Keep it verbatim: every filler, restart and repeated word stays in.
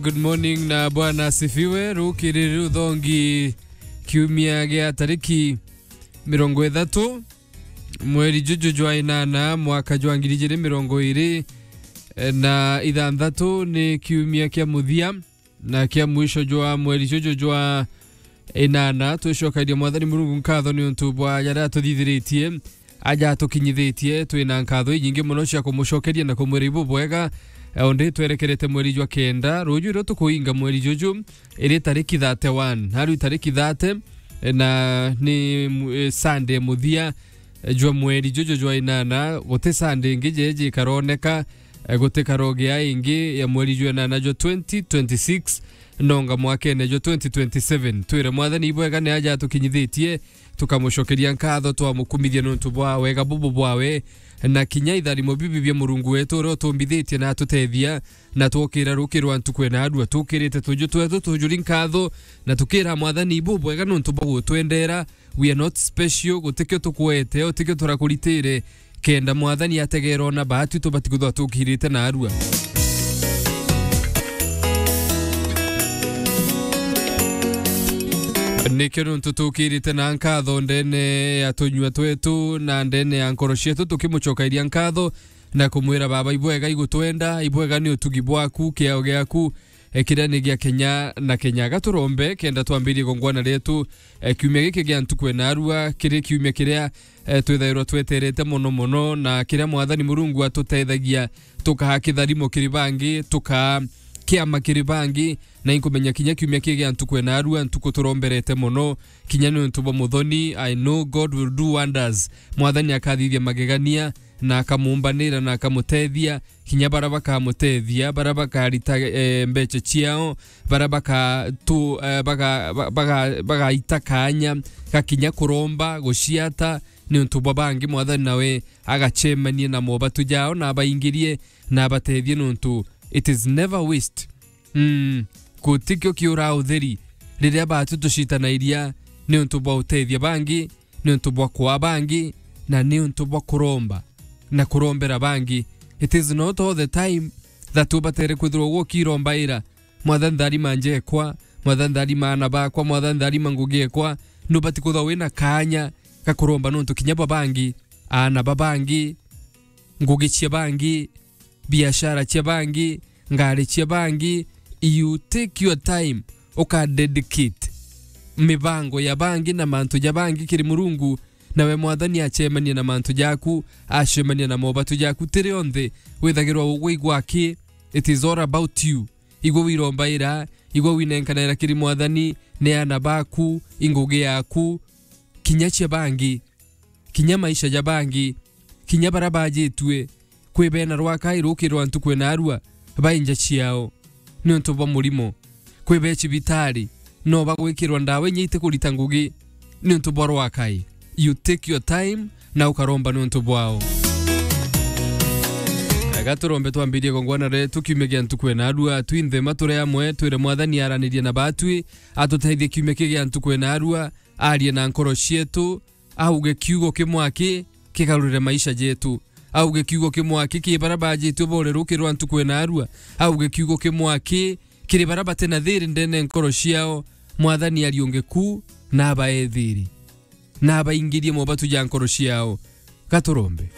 Good morning na Bwana asifiwe. Rukiriri ruthongi kiumia gia tariki mirongo ithatu, mweri juju jwa inana, mwaka jwa ngiri ijiri mirongo iri na ithanthatu, ni kiumia kia muthia na kia mwisho jwa mweri juju jwa inana. Twicokagiria Mwathani Murungu nkatho ni untu bwa jaria atuthithiritie, aja atukinyithitie. Twina nkatho inyingi mono cia kumucokeria na kumwira ibubwega. Eh, undi twerekerete mweri jwa kenda, ruju irio tukuinga mweri juju, iri tariki thirty-one, na riu tariki thirty, eh, na ni mu-, eh, Sunday muthia, eh, jwa mweri juju jwa inana. Guti Sunday ingi jeji ikaroneka, eh, guti karogia ingi ya mweri jwa inana jwa twenty twenty-six, nonga mwakene jwa twenty twenty-seven. Twire Mwathani ibwega ni aja atukinyithitie, tukamucokeria nkatho, twamukumithia nontu bwa wega bubu bwawe, na kinya itharimo bibi bia Murungu wetu uria utumbithitie na atutethia, na twokira rukirwa ntuku ena arua. Tukirite tuju twetu tujuri nkatho, na tukira Mwathani ibubwega nontu bwa gutwendera. We are not special, gutikio tukwete, utikio turakuritire, kenda Mwathani ategerwa na baatu tubati kuthwa tukirite na arua. Nikio nontu tukirite na nkatho ndene ya tunyua twetu na ndene ya nkoro cietu, tukimucokairia nkatho na kumwira, Baba, ibwega igutwenda, ibwega ni utugi bwaku, kiao giaku, eh, kiria ni gia kenya na kenya. Gaturombe kenda twambirie gongwana rietu, eh, kiumia giki gia ntuku ena arua, kiri kiumia kiria, eh, twithairwa tweterete mono mono, na kiria Mwathani Murungu atutethagia, tukaa kitharimo kiri bangi, tukaa kiama kiri bangi, na inkumenya kinya kiumia kii gia ntuku ena arua, ntuku turomberete mono, kinya ni untu bwa muthoni. I know God will do wonders. Mwathani akathithia magegania, na akamumbanira na akamutethia, kinya bara bakamutethia, bara bakarita, eh, mbeca ciao, bara baka tu, eh, baga-, ba-, baga-, bagaita kanya ga kinya kuromba, guciata, ni untu bwa bangi. Mwathani nawe agacemanie na mobatu jao, na abaingirie, na abatethie, ni untu it is never waste. Mm, gutikio kiura utheri riria baatu tucitanairia ni untu bwa utethia bangi, ni untu bwa kwaa bangi, na ni untu bwa kuromba na kurombera bangi. It is not all the time that ubatere kwithirwa ugwo ukirombaira, Mwathani tharima njekwa, Mwathani tharima aana bakwa, Mwathani tharima ngugi ekwa. Nubati kwithirwa wina kanya ga kuromba nontu kinya bwa bangi, aana ba bangi, ngugi cia bangi, biashara cia bangi, ngari cia bangi. You take your time, uka dedicate mibango ya bangi na mantu ja bangi kiri Murungu, nawe Mwathani acemanie na mantu jaku, acemanie na mobatu jaku. Tiri onthe withagirwa ugwigwa aki, it is all about you. Igwe wirombaira, igwe winenkanaira kiri Mwathani, ni aana baku, ingugi yaku, kinya cia bangi, kinya maisha ja bangi, kinya bara bajitue. Kwi bena rwakai rukirwa ntuku ena arua, bai nja ciao ni untu bwa murimo. Kwi be cibitari, no bagwikirwa ndawa inya itikurita ngugi ni untu bwa rwakai. You take your time na ukaromba ni untu bwao. Ega turombe twambirie gongwana retu kiumia gia ntuku ena arua, twinthe ma turi amwe, twire Mwathani aranirie na batwi, atutethie kiumia kii gia ntuku ena arua, arie na nkoro cietu, auge kiugo kimwe aki kigarurire maisha jetu. Auge kiugo kimwe aki kiri bara bajitue bore rukirwa ntuku ena arua. Auge kiugo kimwe aki kiri bara bati na thiri ndene nkoro ciao. Mwathani ariunge ku na abae thiri, na abaingirie mobatu ja nkoro ciao. Gaturombe.